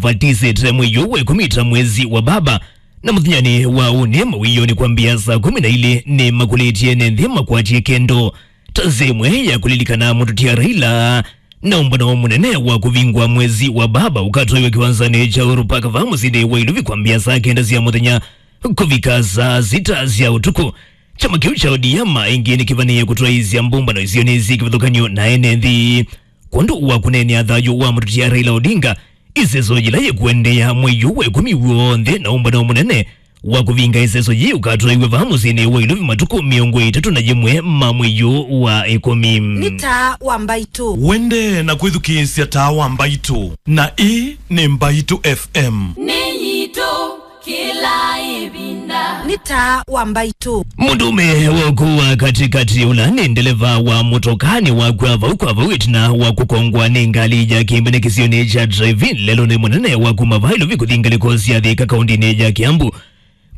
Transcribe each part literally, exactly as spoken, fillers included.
vatisĩte mwei ũũ wa ĩkũmi ta mwezi wa baba, na mũthenyanĩ wa ũnĩ mawĩoo nĩ kwambĩa saa kũmi na ilĩ nĩ makũlĩtye ene nthĩ makwatie kendo ta nzĩa ĩmwe ya kũlilikana mũtũtia Raila na ũmbano mũnene wa kũvingwa mwezi wa baba ũkatwaiwe kĩwanzanĩ kya Uhuru Park vaa mũsyĩnĩ wa Ilovi kwambĩa saa kenda sya mũthenya kũvika saa sita sya ũtukũ. Kyama kĩu kya O D M ĩngĩ nĩkĩvanĩĩe kũtwaĩĩsya mbũmbano isionĩ syĩ kĩvathũkany'o na ene nthĩ kwondũ wa kũneenea thayũ wa mũtũtia Raila Odinga. Ĩseso yĩla yĩkũendeea mwei ũũ wa ĩkũmi w'onthe na ũmbano mũnene wa kũvinga ĩseso yĩĩ ũkatwaiwe vaa mũsyĩnĩ wa Ilovi matukũ mĩongo ĩtatũ na yĩmwe ma mwei ũũ wa ĩkũmi. Nĩ Taa wa Mbaitũ. Wende na kwĩthukĩĩsya Taa wa Mbaitũ, na ĩĩ nĩ Mbaitũ F M. Nĩ yitũ kĩla ĩvinda. Nĩ Taa wa Mbaitũ. Mũndũũme wa ũkũũ wa katĩkatĩ ũla nĩ ndeleva wa mũtokaa nĩwakw'a vau kwa vau ĩtina wa kũkongwa nĩ ngalĩ ya kĩmbene kĩsionĩ kya drive-in lelũnĩ mũnene wa kuma vaa Ilovi kũthi ngalĩko sya Thika kaũndĩnĩ ya Kiambu.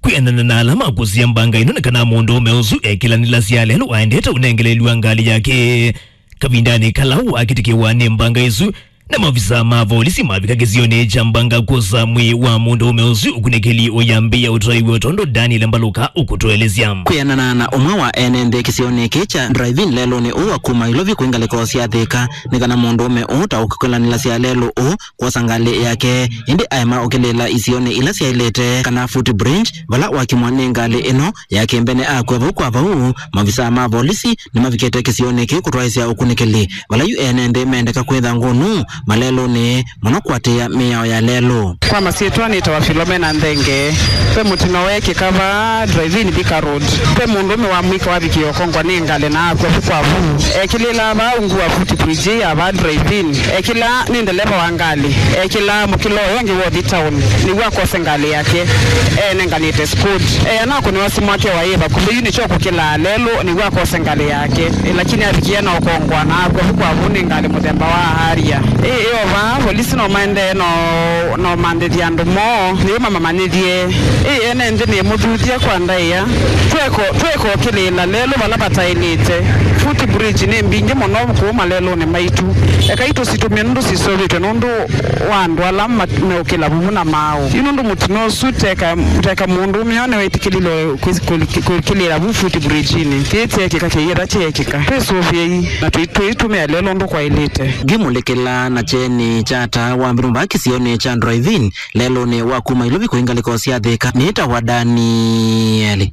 Kwĩanana na ala makũsya mbanga ĩno nĩ kana mũndũũme ũsu ekĩlanĩlasya lelũ aendete ũnengeleelw'a ngalĩ yake. Kavindanĩ kala wakĩtĩkĩwa nĩ mbanga ĩsu, na maovisaa ma volisi mavika kĩsionĩ kya mbanga kwosa mwĩĩ wa mũndũũme ũsu, ũkunĩkĩli ũyambĩĩa ũtwaiwe o tondũ Daniel Mbaluka ũkũtũelesya. Kwĩanana na ũmwe wa ene nthĩ kĩsionĩ kĩĩ kya drive-in lelũnĩ ũũ wa kuma Ilovi kwĩ ngalĩko sya Thika, nĩ kana mũndũũme ũũ ta ũkĩkĩlanĩlasya lelũ ũũ kwosa ngalĩ yake, ĩndĩ aema ũkĩlĩĩla isionĩ ila syaĩlĩte kana footbridge, vala wakimwa nĩ ngalĩ ĩno ya kĩmbene akw'a vau kwa vau. Maovisaa ma volisi nĩmavikĩte kĩsionĩ kĩu kũtwaĩsya ũkunĩkĩli, vala yu ene nthĩ mendeka kwĩtha ngũnũ malelũnĩ mũno kũatĩĩa mĩao ya lelũ. Kwa masyĩtwa nĩtawa Philomena Nthenge. Ve mũtino weekĩka vaa drive-in Thika Road. Ve mũndũũme wa mũika wavikie ũkongwa nĩ ngalĩ na akw'a vu kwa vu. Ekĩlĩĩla vaa ungu wa footbridge ya vaa drive-in. Ekĩlaa nĩ ndeleva wa ngalĩ. Ekĩlaa mũkĩlo ũyũ ũngĩ wa ũthi town nĩw'o akose ngalĩ yake. Eenenganĩte Scott. Eana kũnĩwa simũ wake waĩ vakuvĩ yu nĩkyo kũkĩlaa lelũ nĩw'o akose ngalĩ yake. Ĩ, lakini avikie na ũkongwa na akw'a vu kwa vu nĩ ngalĩ mũthemba wa Harrier. Ĩ, ĩ o vaa, volisi no maendee no, no manthĩthya andũ moo, nĩw'o mamamanyĩthye. Ĩ, ene nthĩ nĩmũthuthya kwa ndaĩa. Tweko, tweko kĩlĩĩla lelũ vala vataĩlĩte. Footbridge nĩ mbingĩ mũno kũu malelũnĩ maitũ. Ekai tũsitũmĩe nũndũ sisũvĩtw'e nũndũ wa andũ ala ma-, meũkĩla vuvu na maaũ. Yu nũndũ mũtino ũsu teka, teka mũndũũme ũũ nĩwĩtĩkĩlile kwĩ-, kwĩ-, kwĩkĩlĩĩla vu footbridge-inĩ. Kĩĩ kyeekĩka kĩyĩetha kyeekĩka. Twĩsũvĩei na tũi-, tũitũmĩa lelũ ũndũ kwaĩlĩte. Ngĩmũlĩkĩla na kyeni kya Taa wa Mbaitũ vaa kĩsionĩ kya drive-in lelũnĩ wa kuma Ilovi kũi ngalĩko sya Thika, nĩtawa Daniel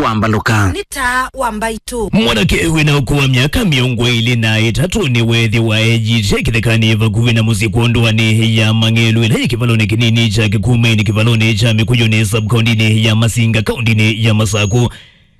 wa Mbaluka. Nĩ Taa wa Mbaitũ. Mwanake wĩna ũkũũ wa myaka mĩongo ĩlĩ na ĩtatũ nĩweethĩwa eyĩte kĩthekanĩ vakuvĩ na mũsyĩ kwondũ wa nĩ ya Mang'elu ĩla yĩ kĩvalonĩ kĩnini kya Kĩkumeni kĩvalonĩ kya Mĩkũyũnĩ sub-kaũndĩnĩ ya Masinga kaũndĩnĩ ya Masakũ.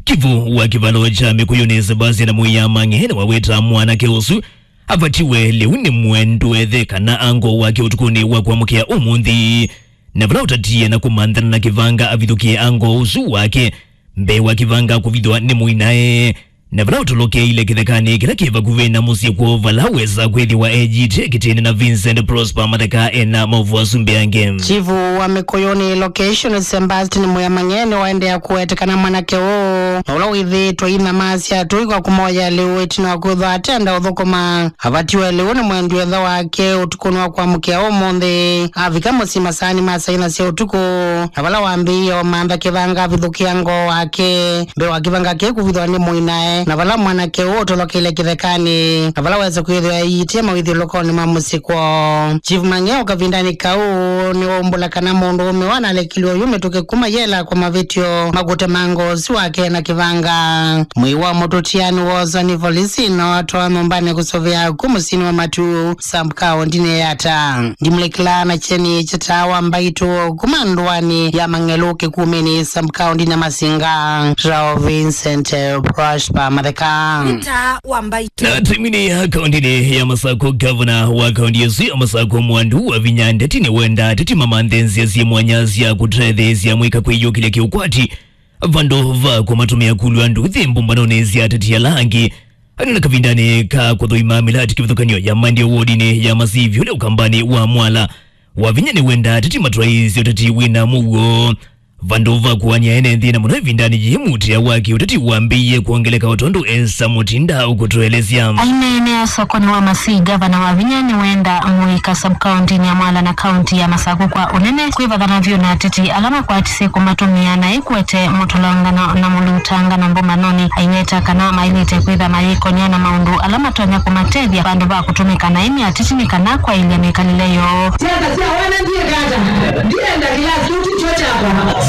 Chifu wa kĩvalo kya Mĩkũyũnĩ Sebastian Mũiamang'e nĩwaweta mwanake ũsu avatiwe lĩu nĩ mwendwa ĩthe kana ango wake ũtukũnĩ wa kwamũkĩa ũmũnthĩ, na vala ũtatie na kũmanthana na kĩvanga avithũkĩe ango ũsu wake mbee wa kĩvanga kũvithwa nĩ mũinae, na vala ũtolokeile kĩthekanĩ kĩla kĩ vakuvĩ na mũsyĩ kwoo vala wesa kwĩthĩwa eyĩte kĩtĩnĩ na Vincent Prosper Matheka ena maũvoo asu mbee angĩ. Chifu wa Mĩkũyũnĩ location Sebastian Mũiamang'e nĩwaendeea kũweta kana mwanake ũũ na ũla wĩthĩĩtwe inyamasya atũi kwa kũmoya lĩu ĩtina wa kwĩthwa atenda ũthũkũma. Avatiwe lĩu nĩ mwendwa ĩthe wake ũtukũnĩ wa kwamũkĩa ũmũnthĩ. Avika mũsyĩ masaanĩ ma saa inya sya ũtukũ, na vala wambĩĩe ũmantha kĩvanga avithũkĩa ngoo wake mbee wa kĩvanga kĩu kũvithwa nĩ mũinae, na vala mwanake ũũ ũtolokeile kĩthekanĩ, na vala wesa kwĩthĩwa eyĩtĩe mawĩthyũlũkonĩ ma mũsyĩ kwoo. Chief Mang'e o kavindanĩ kau nĩwaumbũla kana mũndũũme ũũ analekilwe oyu mĩtũkĩ kuma yela kwa mavĩtyo ma kũtema ngoo ũsu wake na kĩvanga. Mwĩĩ wa mũtũtia nĩwooswa nĩ volisi na watwawa nyũmbanĩ kũsũvĩa kũu mũsyĩnĩ wa Matu, sub-kaũndĩnĩ ya Yatta. Ndimulekela na kyeni kya Taa wa Mbaitũ kuma ndũanĩ ya Mang'elu Kĩkumeni, sub-kaũndĩnĩ ya Masinga, Rao Vincent Prosper Matheka. Nĩ Taa wa Mbaitũ. Na timinĩ ya kaũndĩnĩ ya Masakũ, gavana wa kaũndĩ ĩsu ya Masakũ Mwandu Wavinya Ndeti nĩwenda ateti mamanthe nzĩa syĩ mwanya sya kũtetheesya amũika kwĩyũkĩlya kĩũkwati vandũ va kũmatũmĩa kulw'a nduthi mbũmbanonĩ sya ateti ala angĩ. Anena kavindanĩ ka kũthũima mĩlatĩ kĩvathũkany'o ya Mandi wodinĩ ya Masivi ũla ũkambanĩ wa Mwala, Wavinya nĩwenda ateti matwaĩĩsye ũteti wĩna mũuo. Vandũ va kũany'a ene nthĩ na mũno ĩvindanĩ yĩĩ, mũtĩa wa kĩũteti wambĩĩie kwongeleka o tondũ Esther Mutinda ũkũtũelesya. Aineenea sokonĩ wa Masii, ngavana Wavinya nĩwenda mũika sub-kaũntĩnĩ ya Mwala na kaũntĩ ya Masakũ kwa ũnene kwĩvathana vyũ na ateti ala makwatisye kũmatũmĩa na ĩkwete mũtũlongano na mũlutangano mbũmanonĩ. Aiweta kana maĩlĩte kwĩtha mayĩkony'a na maũndũ ala matonya kũmatethya vandũ va kũtũmĩka naĩ nĩ ateti nĩ kana kwaĩlya mĩkalĩle yoo. Siasa cia wana ndiye kata. Ndienda kĩlasi kĩu ti kyo kyakwa.